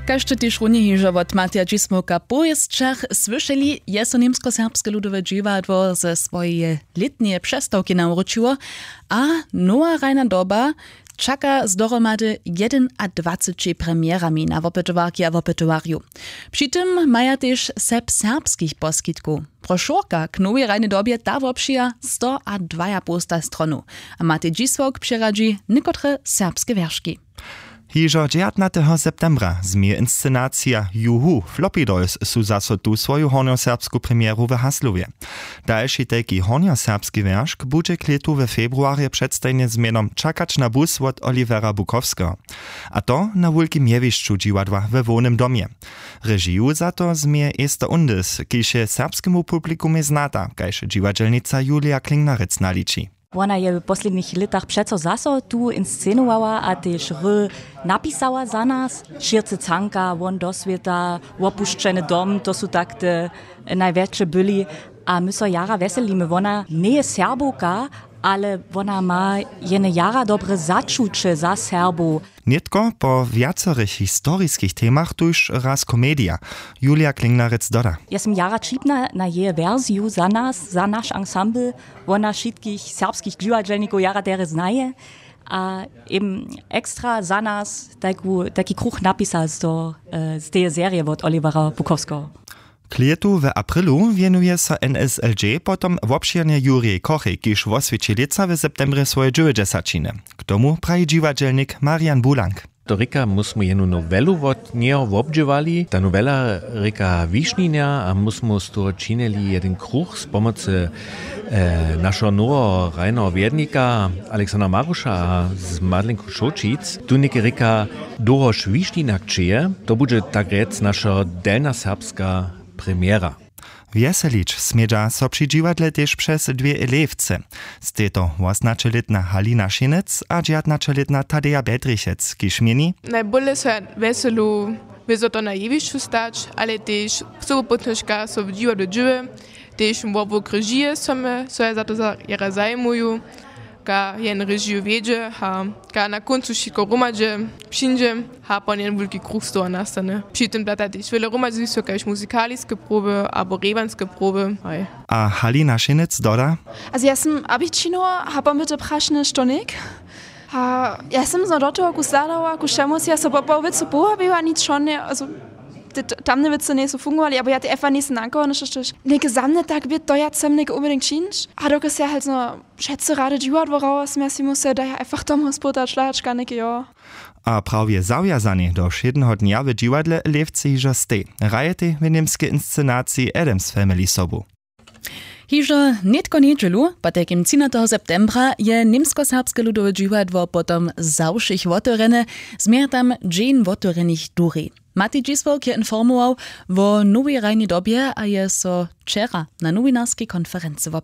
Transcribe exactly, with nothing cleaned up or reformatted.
Kaž sće tež runje hižo wot Mateja Dźismowka w powěsćach słyšeli, je so Němskoserbske ludowe dźiwadło ze swojeje lětneje přestawki nawróčiło a nowa hrajna doba čaka z dohromady jedynadwaceći premjerami na wopytowarki a wopytowarju. Při tym maja tež sep serbskich poskitkow. Brošurka k nowej hrajnej dobje ta wobpřija sto a dwajapołsta stronow a Matej Dźisławk přeradźi někotre serbske wjerški. Hižo dźewjatnateho septembra změje inscenacija Juhu, Floppy Dolls su zaso tu swoju hornjoserbsku premjeru w Haslowje. Dalši tajki hornjoserbski wjeršk budźe klětu we februarje předstajenje z mjenom Čakać na bus wot Olivera Bukowskeho. A to na wulkim jewišću dźiwadła we hłownym domje. Režiju za to změje Esther Undys, kiž je serbskemu publikumej znata kaž dźiwadźelnica Julia Klingnarec naliči. Wona je w poslednich lětach přeco zaso tu inscenowała a tež hry napisała za nas. Šěrce canka, won do swěta, wopušćeny dom, to su tak te najwjetše byli. A my so jara wjeselimy, wona njeje Serbowka, ale wona ma jene jara dobre začuće za Serbow. Nětko po wjacorych historiskich temach tuž raz komedija. Julia Klingnarec doda. Ja sym jara ćipna na jeje wersiju za nas, za naš ansambl. Wona wšitkich serbskich dźiwadźelnikow jara derje znaje a eben ekstra za nas tajku, tajki kruch napisa z, toho, e, z teje serije wot Olivera Bukowskeho. K lětu w aprilu wjenuje so N S L J potom wobšěrnje Jurjej Kochej, kiž woswjeći lětsa w septembrje swoje dźewjećdźesaćiny. K tomu praji dźiwadźelnik Marian Bulank. To rěka, my smy jednu nowelu wot njeho wobdźěłali. Ta nowela rěka Wišninja a my smy z toho činili jedyn kruch z pomocy, e, našeho noweho hrajneho wjednika Alexandra Maruša a z Madlenku Šołćic. Tu něke rěka, dołhož Wišnina kćěje, to budźe tak rjec naša delnjoserbska premjera. Wjeselić smědźa so při dźiwadle tež přez dwě elewce. Stej to wosomnaćelětna Halina Šinec a dźewjatnaćelětna Tadeja Bedrichec, kiž měni. Najbóle so ja wjeselu wězo to na jewišću stać, ale tež sobu pótnožka so w dźiwadle dźěły, tež wobłuk režije so my so ja za to za jara zajimuju, ka jen režiju wjedźe a ka na kóncu wšitko hromadźe přińdźe a pon jen wulki kruch z toho nastanje. Při tym data tež wjele hromadźe zwiso kaž muzikaliske proby abo rjebanske proby. Haj. A Halina Šinec doda. Also ja sym abičinowa a pon byty prašny štonik. A ja sym zno do toho kus zadała kus čemus ja so popoł wěcu powabiła nic šone also tamne wěcy njejsu fungowali abo ja te efa njejsym nankował něšto štož něke za mnje tak wět to ja chcem něke unbedingt čińć a dokelž ja halt zno přeco rady dźiwadło hrała sym ja sej mysle da ja efach tomu spótać šlahačka něke jo. A prawje zawjazani do wšědneho dnja w dźiwadle lěwce hižo stej, hrajetej w němskej inscenaciji Addams Family sobu. Hižo nětko njedźelu, potajkim třinateho septembra, je Němskoserbske ludowe dźiwadło potom za wšěch wotewrjene, změr tam dźeń wotewrjenych duri. Matej Dźisławk je informował wo nowej hrajnej dobje a je so wčera na nowinarskej konferency wopytał.